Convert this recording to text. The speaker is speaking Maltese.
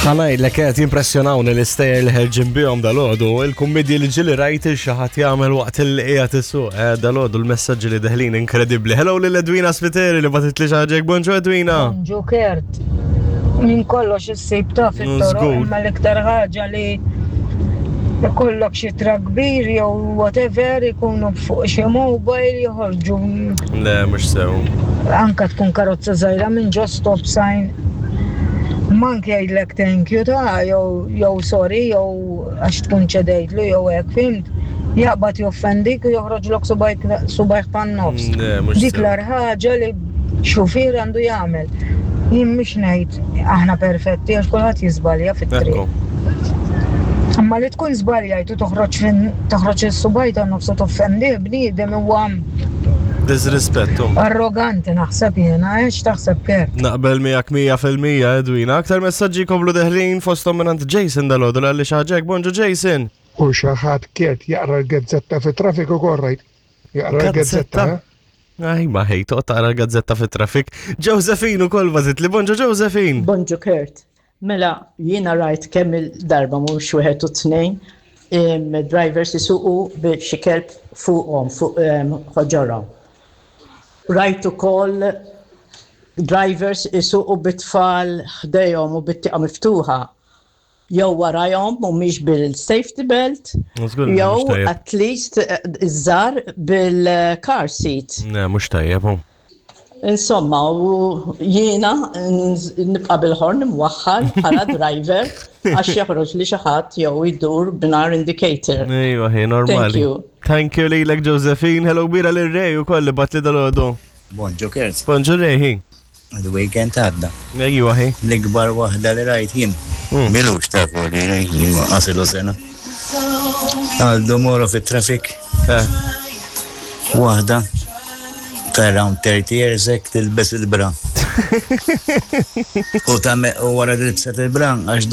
Ħa ngħidlek qed jimpressjonawni l-istejjer li ħerġin bihom dalgħodu, il-kummedji li ġieli rajt il xi ħadd jagħmel waqt il qiegħed isuq, eh, dalgħodu l-messaġġi li deħlin inkredibbli. Hello lil Edwina Spiteri li bagħtitli xi ħaġa bonġu Edwina. Bonġu Kurt. Minn kollox issib ta' fit-toroq imma l-iktar ħaġa li ikollok xi trak kbir jew whatever ikunu fuq xi mobile joħorġu. Le, mhux sew. Anka tkun karozza żgħira minn ġo stop sign Mank jgħidlek thank you ta' jew jew sorry jew għax tkun ċedejtlu jew hekk, fhimt? Jaqbad joffendik u joħroġlok subgħajh tan-nofs. Dik l-agħar ħaġa li xufier għandu jagħmel. Jien mhix ngħid aħna perfetti għax kulħadd jiżbalja fit-triq. Imma li tkun żbaljajt u toħroġ toħroġ is-subgħaj tan-nofs u toffendih bniedem huwa Disrispettu. Arroganti naħseb jiena, eh, x'taħseb Kurt? Naqbel miegħek 100% Edwina. Aktar messaġġi jkomplu deħlin fosthom mingħand Jason dalgħodu li xi ħaġa hekk. Bonġu Jason. U xi ħadd Kurt jaqra l-gazzetta fit-traffiku ukoll rajt. Jaqra l-gazzetta. Eh? Aj, ma ħej, toqgħod taqra l-gazzetta fit-traffic. Josephine ukoll bażit li bonġu Josephine. Bonġu Kurt. Mela, jiena rajt kemm il-darba mhux wieħed u tnejn drivers isuqu bi xi kelb fuqhom fuq ħoġorhom. Rajt ukoll drivers isuqu bit-tfal ħdejhom u bit-tieqa miftuħa jew warajhom mhumiex bil-safety belt jew at least iż-żgħar bil-car seat. Le, mhux tajjeb. Insomma, u jiena nibqa' bil-ħorn imwaħħal bħala driver għax joħroġ li xi ħadd jew idur b'nar indicator. Ejwa, hi normali. Thank you. Thank you lilek Josephine, hello kbira lil Ray ukoll li bat li dalgħodu. Bonġu Kurt. Bonġu Ray, hi. Il-weekend għadda. Ejwa, hi. L-ikbar waħda li rajt jien. Hmm. Milux ta' li għasilu sena. Għaldu moro fit-traffic. Eh. Waħda ta' around 30 years hekk tilbes il-bra. U ta' u wara li libset il-bra għax.